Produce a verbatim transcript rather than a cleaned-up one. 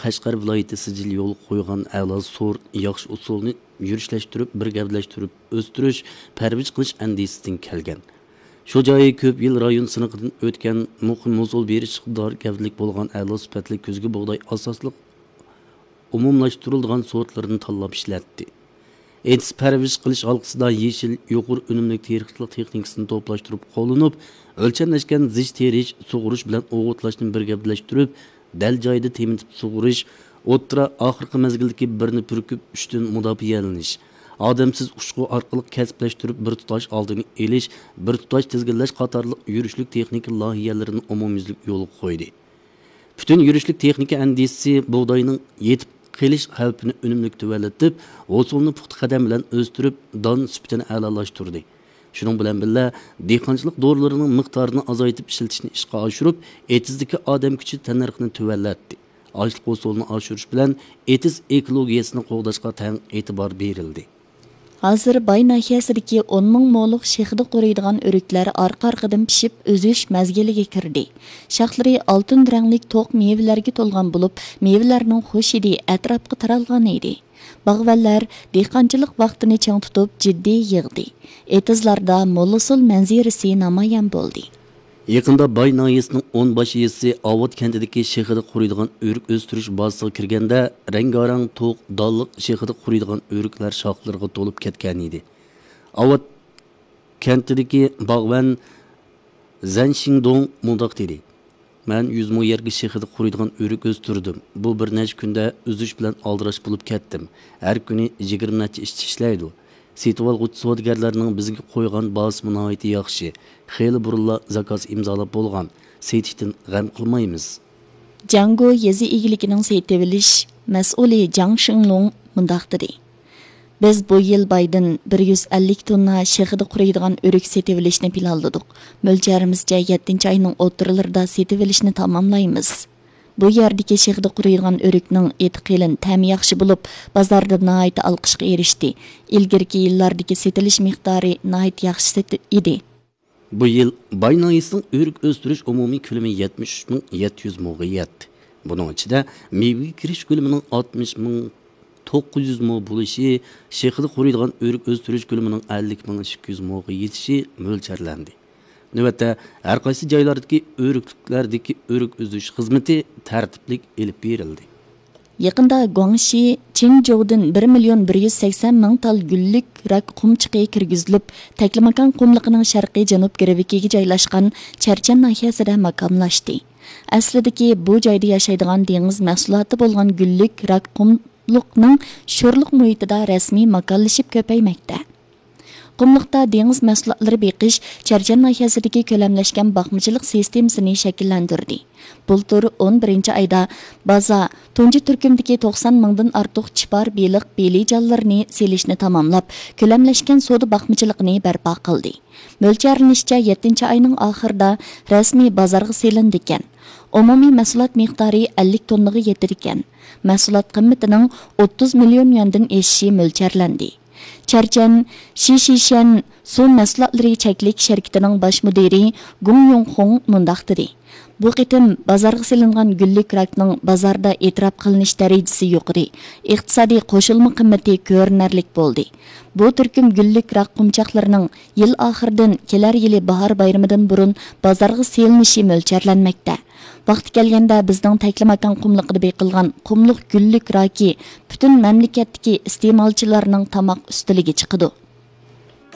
قەشقەر ۋىلايىتى سىجىل يولغا قويغان ئەلا سورت، ياخشى ئۇسۇلنى يۈرۈشلەشتۈرۈپ، بىر گەۋدىلەشتۈرۈپ ئۆستۈرۈش، پەرۋىش قىلىش ئەندىزىسىدىن كەلگەن. شۇ جايى كۆپ يىل رايون سىنىقىدىن ئۆتكەن، مۇقىم ھوسۇل بېرىش ئىقتىدارى گەۋدىلىك بولغان ئەلا سۈپەتلىك كۈزگى بۇغداي ئاساسلىق ئومۇملاشتۇرۇلىدىغان سورتلىرىنى تاللاپ ئىشلەتتى. ئېتىز پەرۋىش قىلىش ھالقىسىدا يېشىل، يۇقىرى ئۈنۈملۈك تېرىقچىلىق تېخنىكىسىنى توپلاشتۇرۇپ قوللىنىپ، ئۆلچەملەشكەن زىچ تېرىش، سۇغۇرۇش بىلەن ئوغۇتلاشنى بىر گەۋدىلەشتۈرۈپ، دەل جايىدا تېمىتىپ سۇغۇرۇش، ئوتتۇرا، ئاخىرقى مەزگىلدىكى بىرنى پۈركۈپ، ئۈچتىن مۇداپىئەلىنىش، ئادەمسىز ئۇچقۇ ئارقىلىق كەسىپلەشتۈرۈپ، بىر تۇتاش ئالدىنى ئېلىش، بىر تۇتاش تىزگىنلەش قاتارلىق يۈرۈشلۈك تېخنىكا لايىھەلىرىنى ئومۇميۈزلۈك يولغا قويدى. پۈتۈن يۈرۈشلۈك تېخنىكا ئەندىزىسى بۇغداينىڭ يېتىپ قېلىش خەۋپىنى ئۈنۈملۈك تۆۋەنلىتىپ، ھوسۇلنى پۇختا قەدەم بىلەن ئۆستۈرۈپ، دان سۈپىتىنى ئەلالاشتۇردى. شۇنىڭ بىلەن بىللە، دېھقانچىلىق دورىلىرىنىڭ مىقدارىنى ئازايتىپ ئىشلىتىشنى ئىشقا ئاشۇرۇپ، ئېتىزدىكى ئادەم كۈچى تەننەرخىنى تۆۋەنلەتتى. ئاشلىق ھوسۇلىنى ئاشۇرۇش بىلەن ئېتىز ئېكولوگىيەسىنى قوغداشقا تەڭ ئېتىبار بېرىلدى. ھازىر باي ناھىيەسىدىكى ئون مىڭ مولۇق شېخىدا قۇرۇيدىغان ئۆرۈكلەر ئارقا-ئارقىدىن پىشىپ، ئۈزۈش مەزگىلىگە كىردى. شاخلىرى ئالتۇن رەڭلىك توق مېۋىلەرگە تولغان بولۇپ، مېۋىلەرنىڭ خۇش ھىدى ئەتراپقا تارالغان ئىدى. باغۋەنلەر دېھقانچىلىق ۋاقتىنى چىڭ تۇتۇپ، جىددىي يىغدى. ئېتىزلاردا مول ھوسۇل مەنزىرىسى نامايان بولدى. يېقىندا باي ناھىيەسىنىڭ ئون باش يېزىسى ئاۋات كەنتىدىكى شېخىدا قۇرۇيدىغان ئۆرۈك ئۆستۈرۈش بازىسىغا كىرگەندە، رەڭگارەڭ توق دانلىق شېخىدا قۇرۇيدىغان ئۆرۈكلەر شاخلىرىغا تولۇپ كەتكەنىدى. ئاۋات كەنتىدىكى باغۋەن زەن شىڭدوڭ مۇنداق دېدى: «مەن يۈز مو يەرگە شېخىدا قۇرۇيدىغان ئۆرۈك ئۆستۈردۈم. بۇ بىر نەچچە كۈندە ئۈزۈش بىلەن ئالدىراش بولۇپ كەتتىم. ھەر كۈنى يىگىرمە نەچچە ئىشچى ئىشلەيدۇ. سېتىۋالغۇچى سودىگەرلەرنىڭ بىزگە قويغان باھاسىمۇ ناھايىتى ياخشى. خېلى بۇرۇنلا زاكاز ئىمزالاپ بولغان. سېتىشتىن غەم قىلمايمىز.» جياڭگو يېزا ئىگىلىكىنىڭ سېتىۋېلىش مەسئۇلى جاڭ شىڭلۇڭ مۇنداق دېدى: «بىز بۇ يىل بايدىن بىر يۈز ئەللىك توننا شېخىدا قۇرۇيدىغان ئۆرۈك سېتىۋېلىشنى پىلانلىدۇق. مۆلچەرىمىزچە، يەتتىنچى ئاينىڭ ئوتتۇرىلىرىدا سېتىۋېلىشنى تاماملايمىز.» بۇ يەردىكى شېخىدا قۇرۇيدىغان ئۆرۈكنىڭ ئېتى قېلىن، تەمى ياخشى بولۇپ، بازاردا ناھايىتى ئالقىشقا ئېرىشتى. ئىلگىرىكى يىللاردىكى سېتىلىش مىقدارى ناھايىتى ياخشى سېتىل-، ئىدى. بۇ يىل باي ناھىيەسىنىڭ ئۆرۈك ئۆستۈرۈش ئومۇمىي كۆلىمى يەتمىش ئۈچ مىڭ يەتتە يۈز موغا يەتتى. بۇنىڭ ئىچىدە مېۋىگە كىرىش كۆلىمىنىڭ ئاتمىش مىڭ توققۇز يۈز مو بولۇشى، شېخىدا قۇرۇيدىغان ئۆرۈك ئۆستۈرۈش كۆلىمىنىڭ ئەللىك مىڭ ئىككى يۈز موغا يېتىشى مۆلچەرلەندى. نۆۋەتتە، ھەر قايسى جايلاردىكى ئۆرۈكلۈكلەردىكى ئۆرۈك ئۈزۈش خىزمىتى تەرتىپلىك ئېلىپ بېرىلدى. يېقىندا گۇاڭشى چىڭجوۋدىن بىر مىليون بىر يۈز سەكسەن مىڭ تال گۈللۈك راك قۇمچىقى كىرگۈزۈلۈپ، تەكلىماكان قۇملۇقىنىڭ شەرقىي جەنۇب گىرۋىكىگە جايلاشقان چەرچەن ناھىيەسىدە ماكانلاشتى. ئەسلىدىكى بۇ جايدا ياشايدىغان دېڭىز مەھسۇلاتى بولغان گۈللۈك راك قۇملۇقنىڭ شورلۇق مۇھىتىدا رەسمىي ماكانلىشىپ كۆپەيمەكتە. قۇملۇقتا دېڭىز مەھسۇلاتلىرى بېقىش چەرچەن ناھىيەسىدىكى كۆلەملەشكەن باقمىچىلىق سىستېمىسىنى شەكىللەندۈردى. بۇلتۇر ئون بىرىنچى ئايدا بازا تۇنجى تۈركۈمدىكى توقسان مىڭدىن ئارتۇق چىپار بېلىق بېلىجانلىرىنى سېلىشنى تاماملاپ، كۆلەملەشكەن سودا باقمىچىلىقىنى بەرپا قىلدى. مۆلچەرلىنىشىچە، يەتتىنچى ئاينىڭ ئاخىرىدا رەسمىي بازارغا سېلىنىدىكەن. ئومۇمىي مەھسۇلات مىقدارى ئەللىك توننىغا يېتىدىكەن. مەھسۇلات قىممىتىنىڭ ئوتتۇز مىليون يۈەندىن ئېشىشى مۆلچەرلەندى. چەرچەن شىشىشەن سۇ مەھسۇلاتلىرى چەكلىك شىركىتىنىڭ باش مۇدىرى گۇڭ يۇڭخۇڭ مۇنداق دېدى: «بۇ قېتىم بازارغا سېلىنغان گۈللۈك راكنىڭ بازاردا ئېتىراپ قىلىنىش دەرىجىسى يۇقىرى، ئىقتىسادىي قوشۇلما قىممىتى كۆرۈنەرلىك بولدى. بۇ تۈركۈم گۈللۈك راك قۇمچاقلىرىنىڭ يىل ئاخىرىدىن كېلەر يىلى باھار بايرىمىدىن بۇرۇن بازارغا سېلىنىشى مۆلچەرلەنمەكتە. ۋاقتى كەلگەندە بىزنىڭ تەكلىماكان قۇملۇقىدا بېقىلغان قۇملۇق گۈللۈك راكى پۈتۈن مەملىكەتتىكى ئىستېمالچىلارنىڭ تاماق ئۈستىلىگە چىقىدۇ.»